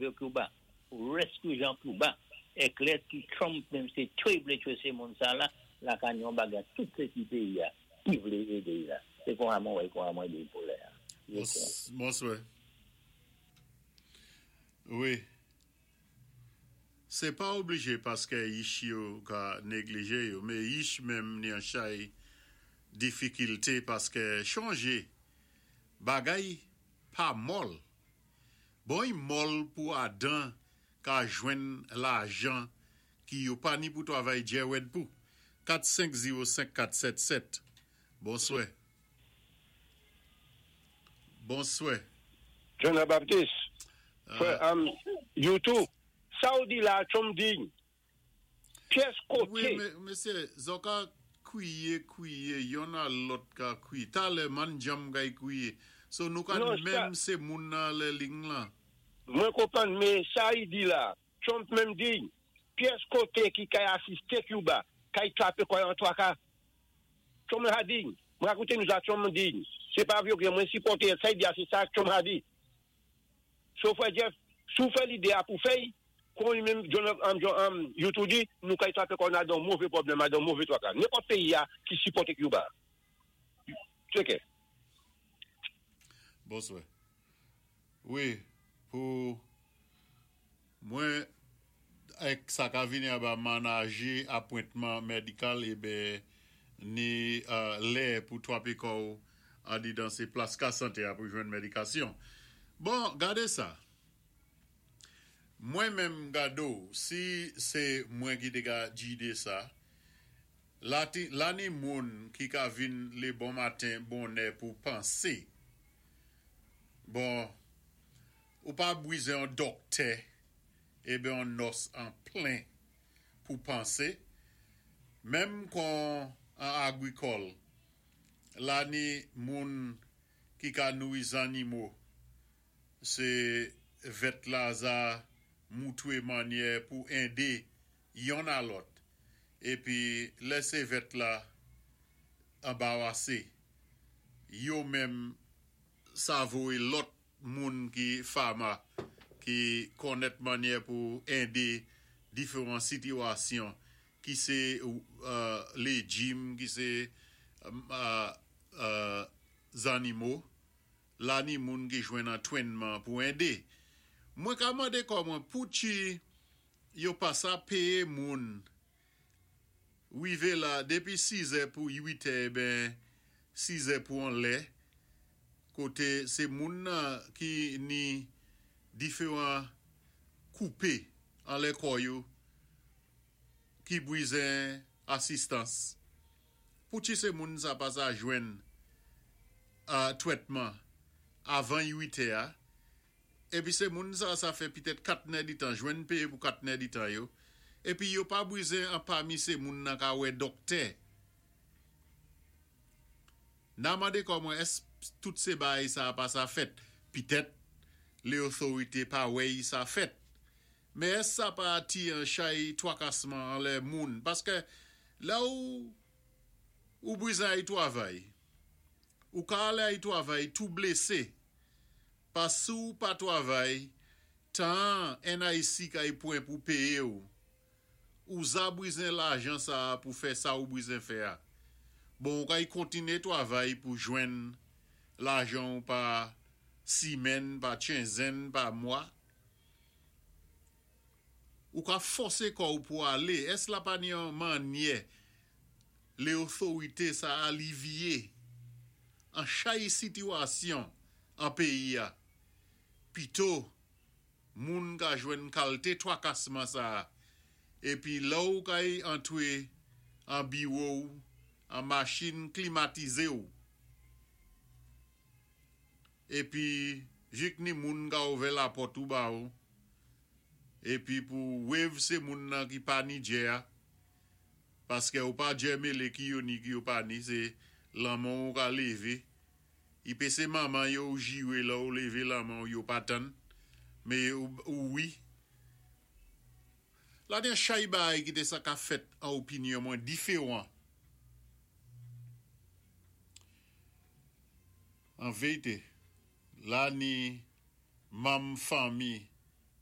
sove Cuba, pou rescue jan Cuba, é klè ki Trump menm sé twe i vlé twe sé moun sa la, la ka ni yon bagay tout sé ti péyi-a ki vlé édé i la. Sé kon sa mwen wè, kon sa mwen di pou lè-a. Bonswè. Wi. Sé pa oblijé paskè yich yo ka neglijé yo, mé yich menm ni an chay difikilté paskè chonjé bagay pa mòl. Bon y mòl pou Adan ka jwenn lajan ki yo pa ni pou twavay djèwèd pou 4 5 0 5 4 7 7. Bonswè. Bonswè. John la Baptiste frè anm you tou sa ou di la Trump di pyès kote. Wi mesye zò ka kwiye kwiye yonn a lòt ka kwiye talè man djanm kay kwiye so nou ka menm se moun nan anlè ling lan. Mwen konprann men sa li di la Trump menm di pyès kote ki kay asiste Cuba kay trape kò yo an twaka Trump ha di mwen ka koute news la Trump di se pa vye mwen sipòte sa li di a se sa Trump ha di so frè Jeff si w fè lide a pou fèy kon li menm John um you tou di nou kay trape kò nou a dan move pwoblèm a dan move twaka nenpòt peyi a ki sipòte Cuba take care. Bonswa. Wi pou mwen ak sa ka vini aba manaje apwentman medikal eben ni lè pou twape kò w andedan se plas ka sante a pou jwenn medikasyon. Bon gade sa mwen menm gade w si se mwen ki te ka jide sa la la ni moun ki ka vin le bon maten bonè pou panse Bon, ou pa bwizen yon dòktè eben yon nòs an plen pou panse, menm kon an agrikòl, la ni moun ki ka nouri zannimo, se vèt la za moutwe mannyè pou ende yonn a lòt, epi lè se vèt la anbawase, yo menm sa voye lòt moun ki fama ki konnèt mannyè pou ende diferan sitiwasyon ki se lejim, ki se zannimo, la ni moun ki jwenn antwennman pou ende. Mwen ka mande kò mwen pouki yo pa sa peye moun Rive la depi sizè pou uitè eben sizè pou anlè kote se moun nan ki ni diferan koupe anlè kò yo ki bwizen asistans pouti se moun sa pa sa jwenn twètman avan uitè a Epi se moun sa sa fè pitèt 4 nèditan jwenn peye pou 4 nèditan yo, epi yo pa brize anpami se moun nan ka wè dòktè. Na mande kò mwen èsk tout se baay sa pa sa fèt, pitèt leothorite pa wè y sa fèt. Men èsk sa pa ti an chay twakasman anlè moun paskè lè ou ou brize ay twavay ou ka ale ay twavay tou blese Pas si w pa twavay, tan an NIC kay pwen pou peye w. Ou za brizen lajan sa a pou fè sa ou brizen fè a. Bon ou kay kontine twavay pou jwenn lajan w pa simèn, pa tchenzenn, pa mwa. Ou ka fòse kò w pou ale. Ès la pa ni yon mannyè le otorite sa alivye an chay sitiwasyon an peyi a pito moun ka jwenn kalte twakasman sa epi lè w kay antre an biwo w an machin klimatize w epi jik ni moun ka ouvè lapòt ou ba w epi pou wev se moun nan ki pa ni djè a paske ou pa djè mele ki yo ni ki yo pa ni se lanmò ou ka leve Yp se manman yo ou jire lè ou leve lanmen w yo pa tann me ou wi la gen chay bagay ki te sa ka fèt an opinyon mwen diferan an veyte la ni manm fanmi.